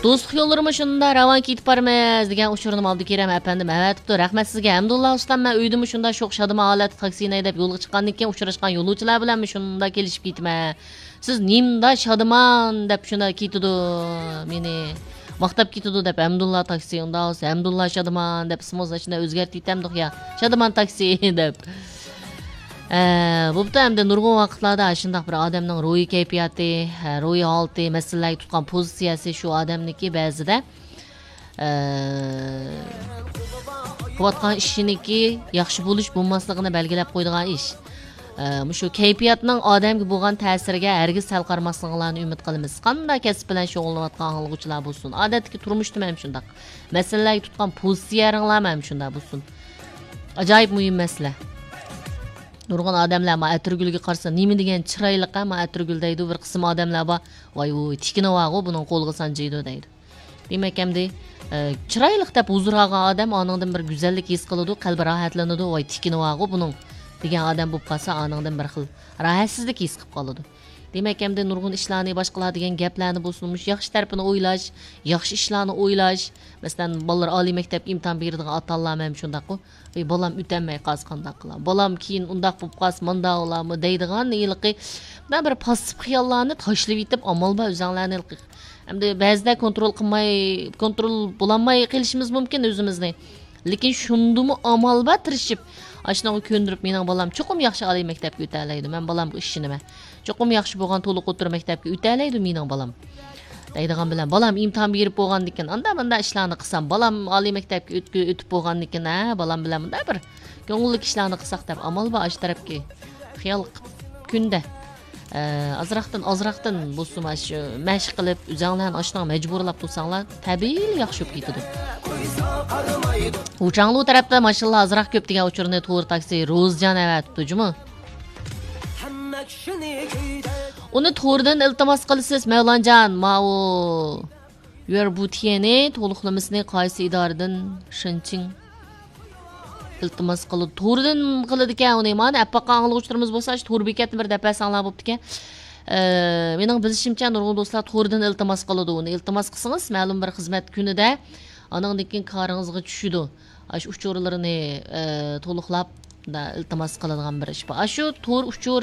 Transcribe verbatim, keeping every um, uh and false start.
دوستلۇق يوللىرىمۇ شۇنداق راۋان كېتىپ بارىمىز دېگەن ئۇچۇرنىمۇ ئابدۇكېرەم ئەپەندىم ئەۋەتىپتۇ. رەھمەت سىزگە. ھەمدۇللا ئۇستام، مەن ئۆيدىمۇ شۇنداق شوخ شادىمان ھالەتتە تاكسىنى ھەيدەپ يولغا چىققاندىن كېيىن ئۇچراشقان يولۇچىلار بىلەنمۇ شۇنداق كېلىشىپ كېتىمەن. سىز نېمىدا شادىمان دەپ شۇنداق كېتىدۇ مېنى. ماختاپ كېتىدۇ دەپ ھەمدۇللا تاكسى، ئۇنداق بولسا ھەمدۇللا شادىمان دەپ ئىسمىڭىزنى شۇنداق ئۆزگەرتىۋېتەمدۇق يا. شادىمان تاكسى دەپ. ئە، بوپتۇ، ئەمدى نۇرغۇن ۋاقىتلاردا ئاشۇنداق بىر ئادەمنىڭ روھىي كەيپىياتى، ھە، روھىي ھالىتى، مەسىلىلەرگە تۇتقان پوزىتسىيەسى شۇ ئادەمنىكى بەزىدە، ئە، قىلىۋاتقان ئىشىنىكى ياخشى بولۇش بولماسلىقىنى بەلگىلەپ قويىدىغان ئىش. ئە، مۇشۇ كەيپىياتنىڭ ئادەمگە بولغان تەسىرىگە ھەرگىز سەل قارىماسلىقىڭلارنى ئۈمىد قىلىمىز. قانداق كەسىپ بىلەن شۇغۇللىنىۋاتقان ئاڭلىغۇچىلار بولسۇن، ئادەتتىكى تۇرمۇشتىمۇ ھەم شۇنداق، مەسىلىلەرگە تۇتقان پوزىتسىيەلىرىڭلارمۇ ھەم شۇنداق بولسۇن. ئاجايىپ مۇھىم مەسىلە. نۇرغۇن ئادەملەر ما ئەتىرگۈلگە قارىسا، نېمە دېگەن چىرايلىق ھە، ما ئەتىرگۈل دەيدۇ. بىر قىسىم ئادەملەر بار، ۋاي، ۋۇي، تىكىنى بارغۇ، بۇنىڭ قولىغا سانجىيدۇ دەيدۇ. دېمەك، ئەمدى، ئە، چىرايلىق دەپ ھۇزۇر ئالغان ئادەم ئانىڭدىن بىر گۈزەللىك ھېس قىلىدۇ، قەلبى راھەتلىنىدۇ، ۋاي، تىكىنى بارغۇ بۇنىڭ دېگەن ئادەم بولۇپ قالسا، ئانىڭدىن بىر خىل راھەتسىزلىك ھېس قىلىپ قالىدۇ. دېمەك، ئەمدى نۇرغۇن ئىشلارنى، باشقىلار دېگەن گەپلەرنى بولسۇن، مۇشۇ ياخشى تەرىپىنى ئويلاش، ياخشى ئىشلارنى ئويلاش. مەسىلەن، بالىلار ئالىي مەكتەپكە ئىمتىھان بېرىدىغان ئاتا-ئانىلارمۇ ھەم شۇنداققۇ. «ئەي، بالام ئۆتەلمەي قالسا قانداق قىلام؟ بالام كېيىن ئۇنداق بولۇپ قالسا، مانداق بولامۇ؟» دەيدىغان ھېلىقى مۇنداق بىر پاسسىپ خىياللارنى تاشلىۋېتىپ، ئامال بار ئۆزۈڭلارنى ھېلىقى. ئەمدى بەزىدە كونترول قىلماي، كونترول بولالماي قېلىشىمىز مۇمكىن ئۆزىمىزنى. لېكىن شۇندىمۇ ئامال بار تىرىشىپ، ئاشۇنىڭغا كۆندۈرۈپ، «مېنىڭ بالام چوقۇم ياخشى ئالىي مەكتەپكە ئۆتەلەيدۇ، مەن بالامغا ئىشىنىمەن. چوقۇم ياخشى بولغان تولۇق ئوتتۇرا مەكتەپكە ئۆتەلەيدۇ مېنىڭ بالام.» دەيدىغان بىلەن، «بالام ئىمتىھان بېرىپ بولغاندىكىن، ئاندا مۇندا ئىشلارنى قىلسام، بالام ئالىي مەكتەپكە ئۆت-، ئۆتۈپ بولغاندىكىن، ھە، بالام بىلەن مۇندا بىر كۆڭۈللۈك ئىشلارنى قىلساق» دەپ، ئامال بار ئاشۇ تەرەپكە خىيال قىلىپ، كۈندە، ئە، ئازراقتىن، ئازراقتىن بولسىمۇ ئاشۇ مەشىق قىلىپ، ئۆزۈڭلارنى ئاشۇنىڭغا مەجبۇرلاپ تۇرساڭلار، تەبىئىيلا ياخشى بولۇپ كېتىدۇ. ۋۇچاڭلۇ تەرەپتە ماشىنىلار ئازراق كۆپ دېگەن ئۇچۇرنى تور تاكسى روزىجان ئەۋەتىپتۇ جۇمۇ. ئۇنى توردىن ئىلتىماس قىلىسىز، مەۋلانجان، ماۋۇ يۈەر بۇتيەنى تولۇقلىمىسىنى قايسى ئىدارىدىن، شېنچىڭ، ئىلتىماس قىلىدۇ؟ توردىن قىلىدىكەن ئۇنى. مانا ئەپ باققان ئاڭلىغۇچىلىرىمىز بولسا، شۇ تور بېكەتنى بىر دەپ بەرسەڭلار بوپتىكەن. ئە، مېنىڭ بىلىشىمچە، نۇرغۇن دوستلار توردىن ئىلتىماس قىلىدۇ ئۇنى. ئىلتىماس قىلسىڭىز، مەلۇم بىر خىزمەت كۈنىدە ئانىڭدىن كېيىن كارىڭىزغا چۈشىدۇ. ئاشۇ ئۇچۇرلىرىنى، ئە، تولۇقلاپ، مۇنداق ئىلتىماس قىلىدىغان بىر ئىش بار. ئاشۇ تور ئۇچۇرى